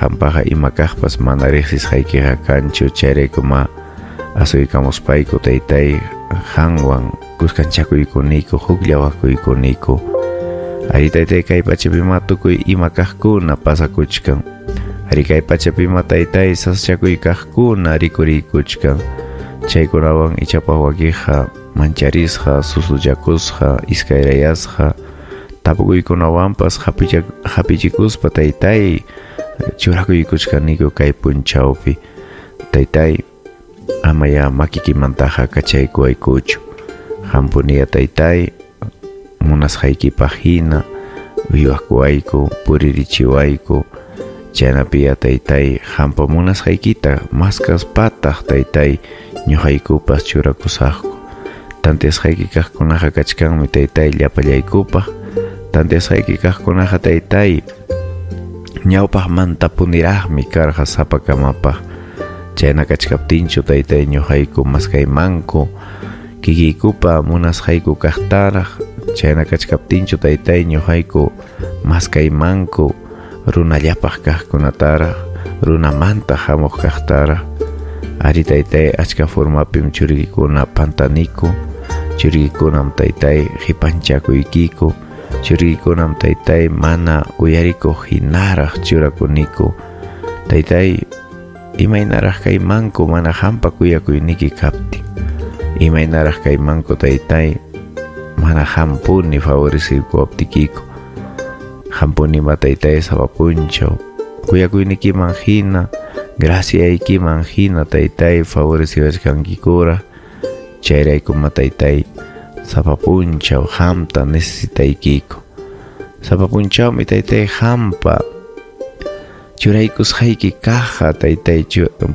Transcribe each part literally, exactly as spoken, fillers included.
Qampaqa ima kaqpas mana riqsisqaykiqa kanchu. Chayraykuma asuykamuspayku, taytay, qanwan kuskanchakuykuniku, hukllawakuykuniko. Ari, taytay, kay pachapima tukuy ima kaqkuna pasakuchkan. Ari, kay pachapima, taytay, sasachakuy kaqkuna rikuriykuchkan. Chaykunawan ichapas wakiqa mancharisqa, susuchakusqa, iskayrayasqa, tapukuykunawanpas hapichikuspa, taytay, churakuykuchkaniku kay punchawpi. Taytay, amaya makikimantaqa kachaykuwaykuchu. Qampuniya, taytay, munasqaykipaq hina uywakuwayku, puririchiwayku. Chaynapiya, taytay, qampa munasqaykita maskaspataq, taytay, ñuqaykupas churakusaqku. Tanteasqayki kaqkunaqa kachkanmi, taytay, llapallaykupaq. Tanteasqayki kaqkunaqa, taytay, ñawpaqmantapuniraqmi karqa sapakamapaq. Chayna kachkaptinchu, taytay, ñuqayku maskaymanku kikiykupa munasqayku kaqtaraq? Chayna kachkaptinchu, taytay, ñuqayku maskaymanku runallapaq kaqkunataraq, runamanta hamuq kaqtaraq? Ari, taytay, achka formapim churikikuna pantaniku. Churikikunam, taytay, qipanchakuykiku. Churikikunam, taytay, mana uyarikuq hinaraq churakuniku. Taytay, imaynaraq kaymanku mana qampa kuyakuyniki kaptin? Imaynaraq kaymanku, taytay, mana qampuni favorecekuwaptikiku? Qampunima, taytay, sapa punchaw kuyakuynikiman hina, graciaykiman hina, taytay, favoreciwachkankikuraq. Chayraykuma, taytay, sapa punchaw qamta necesitaykiku. Sapa punchawmi, taytay, qampa churaykusqayki kaqqa, taytay,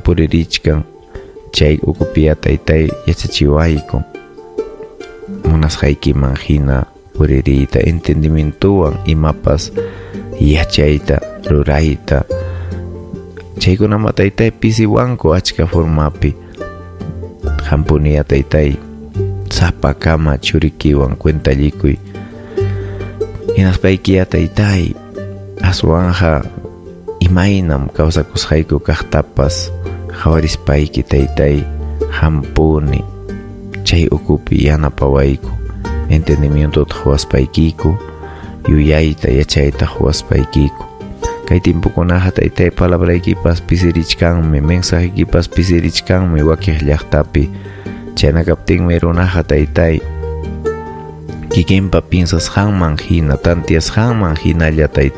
puririchkan. Chay ukupiya, taytay, yachachiwayku munasqaykiman hina puririyta, entendimientowan imapas yachayta, rurayta. Chaykunama, taytay, pisiwanku achka formapi. Qampuniya, taytay, sapakama churikiwan cuentallikuy. Hinaspaykiya, taytay, aswanja imaynam kawsakusqayku kaqtapas qhawarispayki, taytay, qampuni chay ukupi yanapawayku, entendimientota quwaspaykiku, yuyayta, yachayta quwaspaykiku. Kay timpukunaqa, taytay, palabraykipas pisirichkanmi, mensajeykipas pisirichkanmi wakiq llaqtapi. Chayna kaptinmi runaqa, taytay, kikinpa piensasqanman hina, tantiasqanman hinalla, taytay.